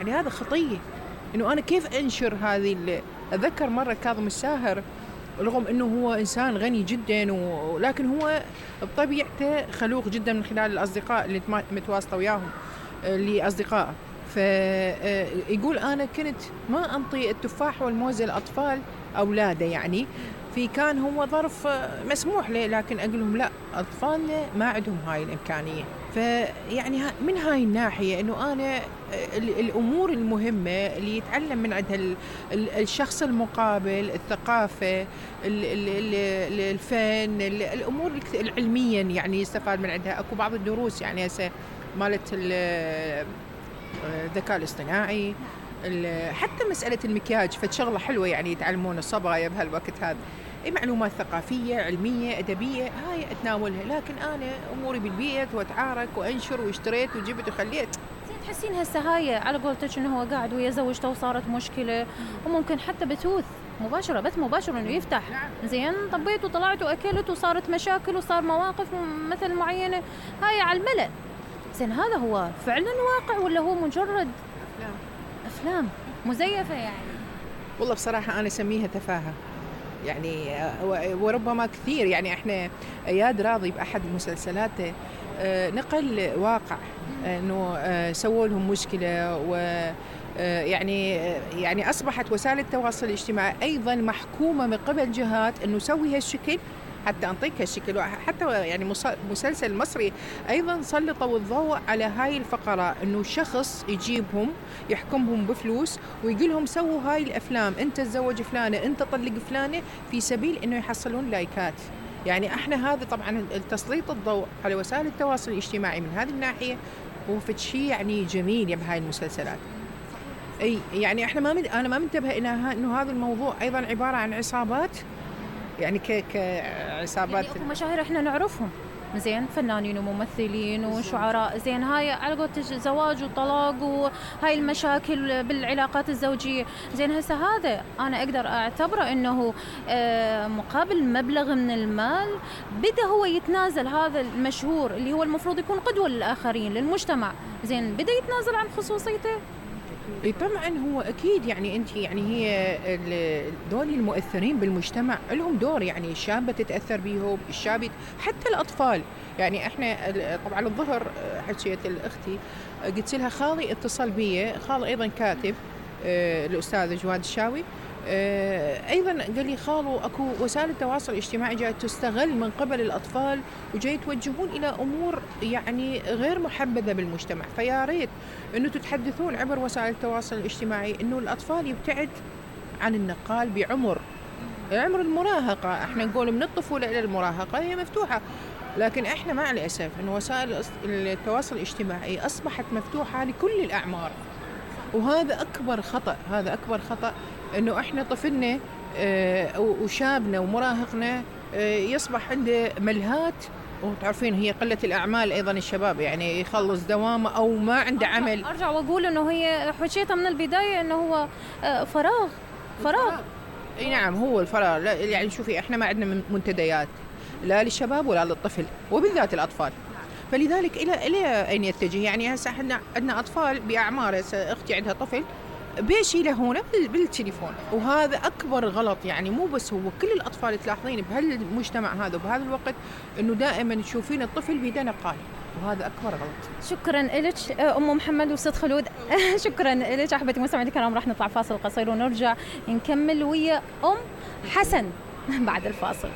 يعني هذا خطية. إنه أنا كيف أنشر هذه أتذكر مرة كاظم الساهر رغم أنه هو إنسان غني جدا ولكن هو بطبيعته خلوق جدا من خلال الأصدقاء اللي متواصلة وياهم اللي أصدقاء. فيقول أنا كنت ما أنطي التفاح والموز للأطفال أولاده، يعني في كان هو ظرف مسموح له، لكن أقول لهم لا، أطفالنا ما عندهم هاي الإمكانية. فيعني من هاي الناحية أنه أنا الأمور المهمة اللي يتعلم من عندها الشخص المقابل، الثقافة، الفن، الأمور العلميا يعني يستفاد من عندها. أكو بعض الدروس يعني هسه مالت الذكاء الاصطناعي، حتى مسألة المكياج فشغلة حلوة يعني يتعلمون الصبايا بهالوقت هذا. معلومات ثقافية علمية أدبية هاي أتناولها، لكن أنا أموري بالبيت وأتعارك وأنشر واشتريت وجبت وخليت. تحسين هسه هاي على قولتك إنه هو قاعد ويا زوجته وصارت مشكلة، وممكن حتى بثوث مباشرة، بث مباشر إنه يفتح زين طبيت وطلعت وأكلت وصارت مشاكل وصار مواقف مثل معينة هاي على الملأ. زين هذا هو فعلا واقع ولا هو مجرد أفلام مزيفة يعني؟ والله بصراحة أنا أسميها تفاهة يعني، وربما كثير يعني. إحنا إياد راضي بأحد مسلسلاته نقل واقع إنه سووا لهم مشكلة، يعني أصبحت وسائل التواصل الاجتماعي أيضا محكومة من قبل جهات إنه سوي هالشكل حتى أنطيك هالشكل. حتى يعني مسلسل مصري أيضا سلطوا الضوء على هاي الفقرة، إنه شخص يجيبهم يحكمهم بفلوس ويقولهم سووا هاي الأفلام، أنت تزوج فلانة، أنت طلق فلانة، في سبيل إنه يحصلون لايكات. يعني احنا هذا طبعا التسليط الضوء على وسائل التواصل الاجتماعي من هذه الناحية هو شيء يعني جميل بهاي المسلسلات. اي يعني احنا انا ما منتبه الى انه هذا الموضوع ايضا عبارة عن عصابات، يعني كعصابات يعني مشاهير احنا نعرفهم زين، فنانين وممثلين وشعراء زين، هاي على قولتك زواج وطلاق وهاي المشاكل بالعلاقات الزوجية. زين هسه هذا أنا أقدر أعتبره إنه مقابل مبلغ من المال بدأ هو يتنازل، هذا المشهور اللي هو المفروض يكون قدوة للآخرين للمجتمع، زين بدأ يتنازل عن خصوصيته. طبعا هو أكيد يعني أنت يعني هي دول المؤثرين بالمجتمع لهم دور، يعني الشابة تتأثر بيهم، الشاب حتى الأطفال. يعني إحنا طبعا الظهر حكيت الأختي قلت لها خالي اتصل بي، خالي أيضا كاتب الأستاذ جواد الشاوي، أيضا قال لي خالو أكو وسائل التواصل الاجتماعي جاي تستغل من قبل الأطفال وجاي توجهون إلى أمور يعني غير محبذة بالمجتمع، فيا ريت إنه تتحدثون عبر وسائل التواصل الاجتماعي إنه الأطفال يبتعد عن النقال بعمر المراهقة. إحنا نقول من الطفولة إلى المراهقة هي مفتوحة، لكن إحنا مع الأسف إنه وسائل التواصل الاجتماعي أصبحت مفتوحة لكل الأعمار، وهذا أكبر خطأ. هذا أكبر خطأ إنه إحنا طفلنا وشابنا ومراهقنا يصبح عنده ملهات، وتعرفين هي قلة الأعمال أيضا الشباب يعني يخلص دوامه أو ما عنده عمل. أرجع وأقول إنه هي حكيتها من البداية إنه هو فراغ. أي نعم هو الفراغ. يعني شوفي إحنا ما عندنا منتديات لا للشباب ولا للطفل وبالذات الأطفال، فلذلك إلى أين يتجه؟ يعني هسه إحنا عندنا أطفال بأعمار، أختي عندها طفل بيشي له هنا بالتليفون، وهذا أكبر غلط. يعني مو بس هو، كل الأطفال تلاحظين بهالمجتمع هذا وبهذا الوقت إنه دائما تشوفين الطفل بيده نقال، وهذا أكبر غلط. شكرا لك أم محمد وست خلود. شكرا لك أحبتي مستمعينا الكرام. راح نطلع فاصل قصير ونرجع نكمل ويا أم حسن بعد الفاصل.